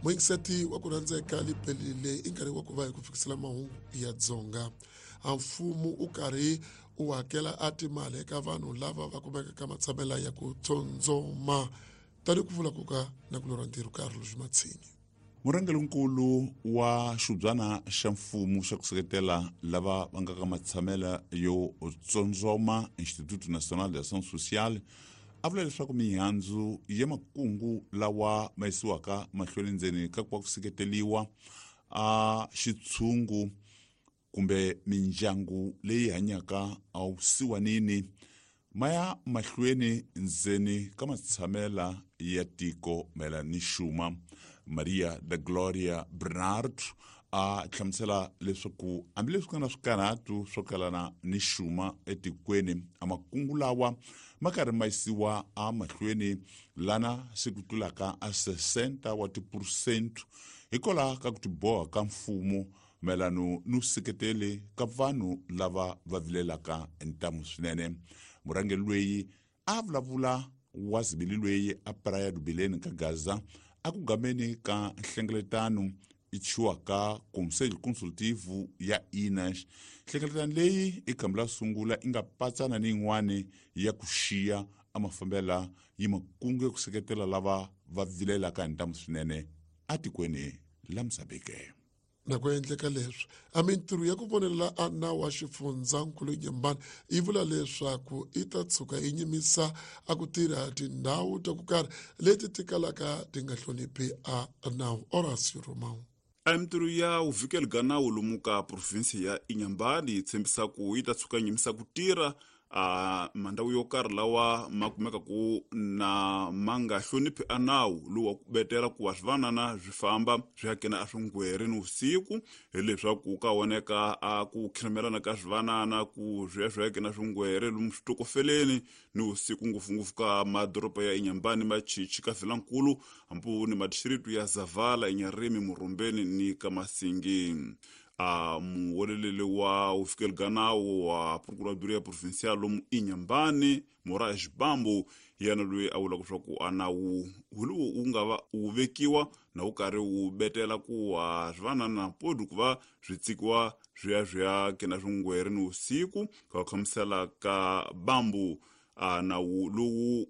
Muyingiseti wa ku rhandzeka libelile i nkarhi wa ku va hi ku fikisela mahungu ya Dzonga. A mfumo u karhi u hakela a timali eka vanhu lava va kumekaka matshamela ya ku tsondzoma tani ku vula ku ka na ku lorha ntirho karhi lexi matshinyi. Murhangerinkulu wa xubyana xa mfumo xa ku seketela lava va nga ka matshamela yo tsondzoma, Instituto Nacional de Ação Social, a vula leswaku mihandzu ya makungu lawa ma yisiwaka mahlweni ndzeni ka ku va ku seketeliwa a xitshungu kumbe mindyangu leyi hanyaka awusiwanini ma ya mahlweni ndzeni ka matshamela ya tiko mayelana ni xuma. Maria da Gloria Bernard a hlamusela leswaku hambileswi ku nga na swikarhatu swo kalana ni xuma etikweni, a makungu lawa ma karhi ma yisiwa emahlweni lana se ku tlulaka a 60 wa tiphurusente hikwalaho ka ku tiboha ka mfumo mayelano ni seketeli ka vanhu lava va vilelaka ntamu swinene. Murhangeri loyi a vulavula wa zibili loyi a Praia do Belém ka Gaza a ku gameni ka nhlengeletano i chiwaka Conselho Consultivo ya INAS. Nhlengeletano leyi i khambi la sungula i nga patsana ni yin'wani ya ku xiya a mafambela yi makungu ya ku seketela lava va vilelaka hi ntamu swinene atikweni la Mozambique. Na ku endleka leswi a mintirho ya ku vonelela a nawu wa xifundzankulu Nyembani yi vula leswaku i ta tshuka yi nyimisa a ku tirha tindhawu ta ku karhi leti ti kalaka ti nga hloniphi a nawu. Horacio Romão. A mintirho ya vuvikeli bya nawu lomu ka provinsi ya Inhambane yi tshembisa ku yi ta tshuka nyimisa ku tirha a mandhawu yo karhi lawa ma kumeka ku na ma nga hloniphi a nawu lowu wa ku betela ku wa swivanana swi famba swi ya kena a swingweri ni vusiku, hileswaku ka voneka a ku khirimelana ka swivanana ku swi ya swi ya kena swingwere lomu switokofeleni ni vusiku, ngopfungopfu ka madoroba ya Inhambane, Machichi, ka Vilankulu, hambi ni madistricto ya Zavala, Inharime, Murumbeni ni ka Masingi. A muweleleli wa vufikeli bya nawu wa Procuradoria Provincial lomu Inhambane, Moraes Bambo, hi yena loyi a vulaka leswaku a nawu wu lowu wu nga va wu vekiwa na wu karhi wu betela ku wa swivanana podi ku va swi tsikiwa swi ya swi ya kena swingweri ni vusiku. Ka ku hlamusela ka Bambo, a nawu lowu